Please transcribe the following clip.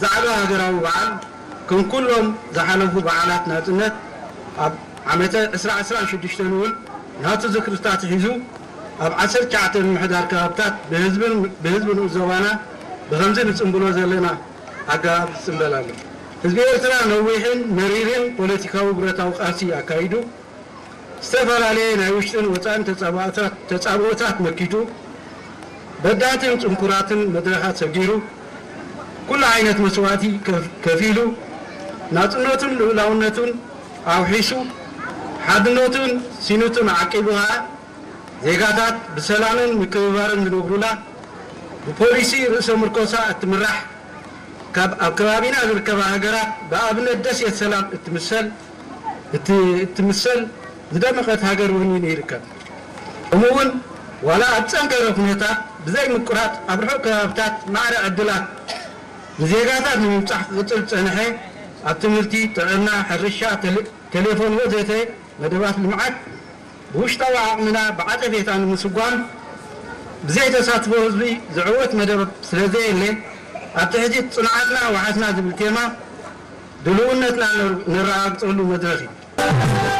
ብዛዕባ ሃገራዊ በዓል፣ ከም ኩሎም ዝሓለፉ በዓላት ናጽነት፣ ኣብ ዓመተ ዕስራ ዕስራን ሽዱሽተን እውን ናቱ ዝክርታት ሒዙ፣ ኣብ ዓሰርተ ትሽዓተ ምምሕዳር ከባብታት ብህዝብን ብህዝቢ ንኡስ ዞባና ብኸምዚ ንጽንብሎ ዘለና ኣገባብ ዝጽንበል ኣሎ። ህዝቢ ኤርትራ ነዊሕን መሪርን ፖለቲካዊ ብረታዊ ቃልሲ ኣካይዱ፣ ዝተፈላለየ ናይ ውሽጥን ወጻእን ተጻብኦታት መኪቱ፣ በዳህትን ጽንኩራትን መድረኻት ሰጊሩ፣ ኩሉ ዓይነት መስዋእቲ ከፊሉ፣ ናጽነቱን ልኡላውነቱን ኣውሒሱ፣ ሓድነቱን ሲኒቱን ዓቂቡ ከኣ፣ ዜጋታት ብሰላምን ምክብባርን ዝነብሩላ፣ ብፖሊሲ ርእሰ ምርኮሳ እትምራሕ፣ ካብ ኣብ ከባቢና ዝርከባ ሃገራት ብኣብነት ደሴት ሰላም እትምሰል እትምሰል ዝደመቐት ሃገር ወኒኑ ይርከብ። ከምኡውን ዋላ ኣብ ጸንከረ ኩነታት ብዘይ ምቁራጽ ኣብ ርሑቕ ከባብታት ማዕረ ዕድላት ንዜጋታት ንምብጻሕ ክቕጽል ዝጸንሐ፣ ኣብ ትምህርቲ፣ ጥዕና፣ ሕርሻ፣ ቴሌፎን ወዘተ መደባት ልምዓት ብውሽጣዊ ዓቕምና ብዓጸፌታ ንምስጓም ብዘይ ተሳትፎ ህዝቢ ዝዕወት መደብ ስለዘየለ፣ ኣብቲ ሕጂ ጽንዓትና ዋሕስና ዝብል ቴማ ድልውነትና ነረጋግጸሉ መድረኽ እዩ።